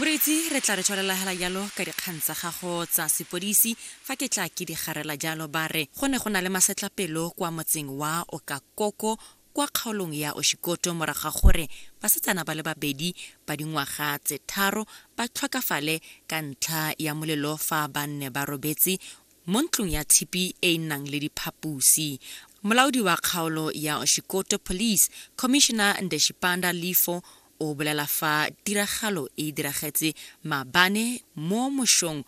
Moreetsi, re tla re tswelela hela jalo ka dikgang tsa gago tsa sepodisi. Fa ke tla ke di garela jalo, ba re go ne go na le masetlapelo kwa motseng wa Okakoko kwa kgaolong ya Oshikoto morago ga gore basetsana ba le babedi ba dingwaga tse 3 ba tlhokafale ka ntlha ya molelo fa ba nne ba robetse mo ntlong ya tshipi e e nang le diphaposi. Molaodi wa kgaolo ya Oshikoto Police, Commissioner Ndeshipanda Lifo, o bolela fa tiragalo e diragetse maabane mo mošong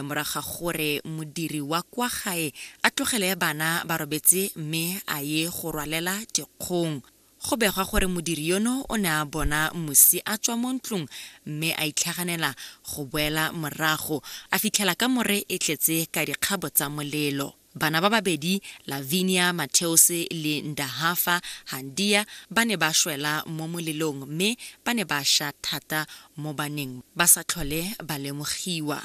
morago ga gore modiri wa kwa gae a tlogele bana ba robetse mme a ye go rwalela dikgong. Go begwa gore modiri yono o ne a bona mosi a tswa mo ntlong mme a itlhaganela go boela morago, a fitlhela kamore e tletse ka dikgabo tsa molelo. Bana ba babedi, Lavinia Mateus le Ndahafa Handia, ba ne ba shwela mo molelong mme ba ne ba sha thata mo baneng ba sa tlhole ba lemogiwa.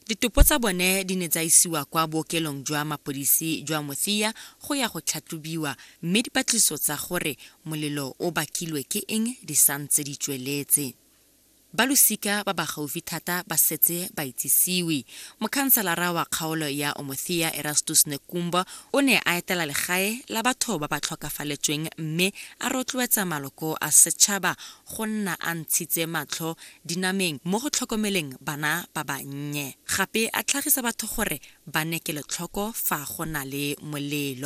Ditopo tsa bone di ne tsa isiwa kwa bookelong jwa mapodisi jwa Mothiya go ya go tlhatlhobiwa, mme dipatlisiso tsa gore molelo o bakilwe ke eng di santse di tsweletse. Ba losika ba ba gaufi thata ba setse ba itsisiwe. Mokhanselara wa kgaolo ya Omothiya Erastus Nekumba o ne a etela legae la batho ba ba tlhokafaletsweng mme a rotloetsa maloko a setšhaba go nna a ntshitse matlho dinameng mo go tlhokomeleng bana ba bannye. Gape a tlhagisa batho gore ba nne kelotlhoko fa go na le molelo.